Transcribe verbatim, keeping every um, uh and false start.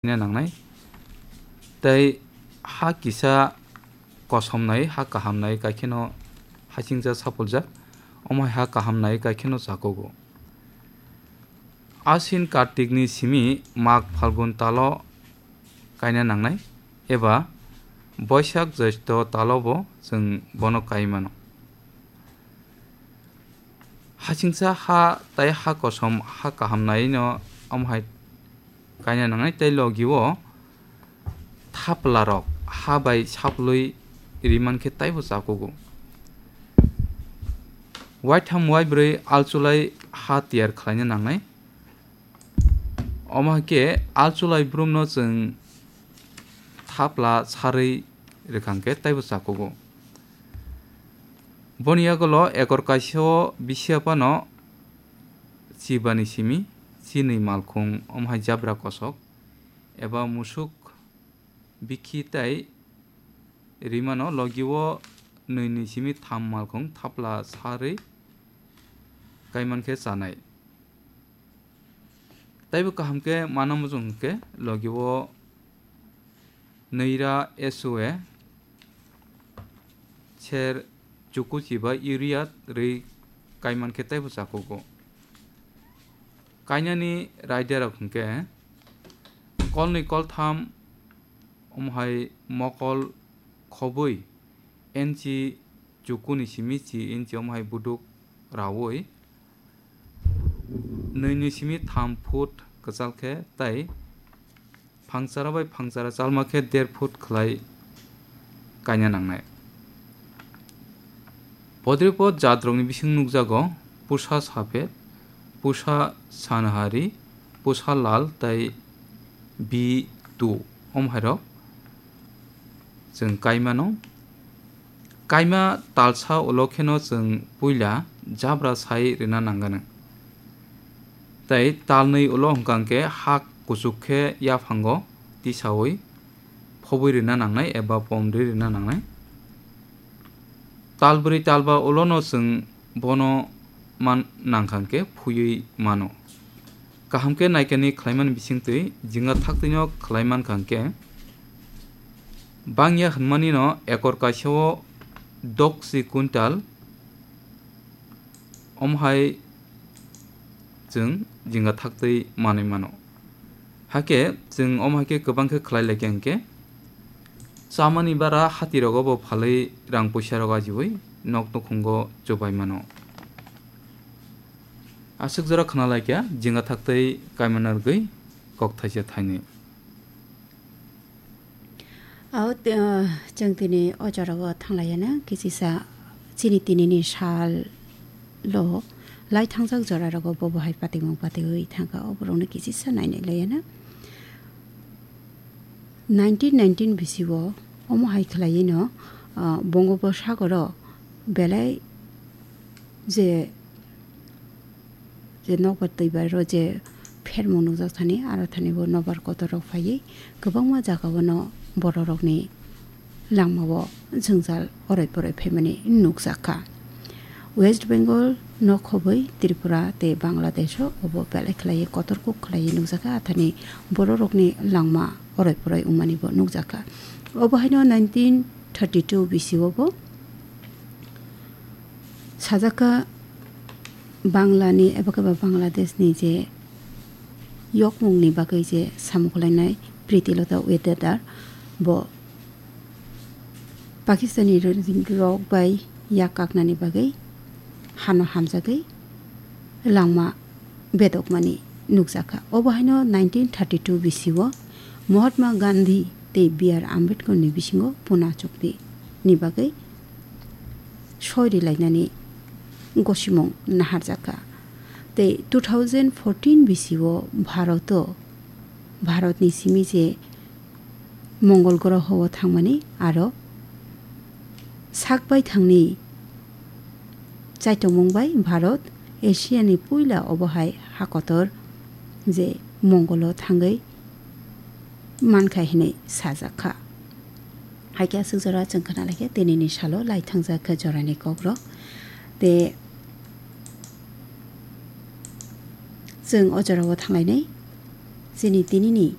nangnai. Tei ha kisa kosom nai, ha kaham nai, kaikheno hasingcha sapuljak, omo hai ha kaham nai kaikheno chakugo. Asin Kartik ni simi Mag Phalgun talo kaina nangnai, eba Boisak Jyoshtho talo bo chwng bono kai mano. Hasingcha ha tei ha kosom ha kaham nai no omo hai kaina nangnai, tei logi o thapla rok ha bai saplui riman khe taibo chakugo. Waitham waibrwi alchulai ha tiyar khlaina nangnai. Omo hai khe alchulai brumno chwng thapla sarwi rwkang khe taibo chakugo. Boni yagulo ekor kaisa o bisi aphano chibani simi chinwi malkhung, omo hai jabra kosok eba musuk bikhi tei rimano logi o nwi ni simi tham malkhung thapla sarwi kaiman khe chanai. Taibo kaham khe mana muchung hwnkhe logi o nwira S O A ser chukuchi ba urea rwi kaiman khe taibo chakugo. Kainani raidarok hwnkhe kolnwi koltham omo hai mokol khobwi enchi chukuni simi chi inchi omo hai buduk raui nwi ni simi tham foot kwchal khe tei phangchara bai phangchara chalma khe der foot khlai kaina nangnai. Podripod jatrokni bising nukjago pusa saphet, pusa sanhari, pusa lal tei B two, omo hairok chwng kaimano. Kaima talsa ulo kheno chwng puila jabra sai rwna nangano. Tei talnwi ulo hwnkha khe ha kuchuk khe yaphango tisaui phobwi rwna nangnai eba pomrwi rwna nangnai. Talbrwi talba ulono chwng bono man nangkha khe phuywi mano. Kaham khe naikani khlaimani bisingtwi jinga thaktwino khlai mankha khe bangya hwnmani no ekor kaisa o doksi quintal omo hai chwng jinga thaktwi manwi mano. Hakhe chwng omo hai khe kwbang khe khlai lai khe hwnkhe chamani bara hatirogo bo phalwi rang puisa rok ajiui nok nukhungo chubai mano. Aswk jora khna lai kha jinga thaktwi kaimana rwgwi kok thaisa thainwi. Ao, te, ah, chwng tini o jorao thanglaiya na, kichisa chini tinini sal lo lai thangjak jora rogo bo bo hai patimung patiwi thangkha, o borokno kichisa nainai laiya na. Nineteen nineteen bisio omo hai khlaiwi no, ah, Bongobosagoro belai je, je nokbar twi bai ro je phermung nukjak thani, aro thani bo nokbar kotor rok phaiwi kwbangma jaga o no borok rokni langma o jwngjal oroi poroi phaimani nukjak kha. West Bengal no khobwi Tripura tei Bangladesh o obo belai khlaiwi kotor kuk khlaiwi nukjak kha, athani borok rokni langma oroi poroi wngmani bo nukjak kha. Obo haino nineteen thirty two bisio bo sajak kha Bangla ni eba khe ba Bangladesh ni je yokmung ni bagwi je samung khlainai Priti Lota Wetedar bo Pakistani rok bai yak kaknani bagwi hano hamjagwi langma bedokmani nukjakha. Obo haino nineteen thirty two bisio Mahatma Gandhi tei B R Ambedkar ni bisingo Pune chukti ni bagwi soi rilainani gosimung naharjakha. Tei two thousand fourteen bisio Bharoto, Bharotni simi je Mongol groho o thangmani aro sak bai thangni chaitokmung bai Bharot Asia ni puila obo hai ha kotor je Mongol o thangwi mankha hinwi sajak kha. Hai khe aswk jora chwng khna lai khe tinini salo lai thangjak kha jorani kokrok. Tei chwng o jorao thanglainai chini tinini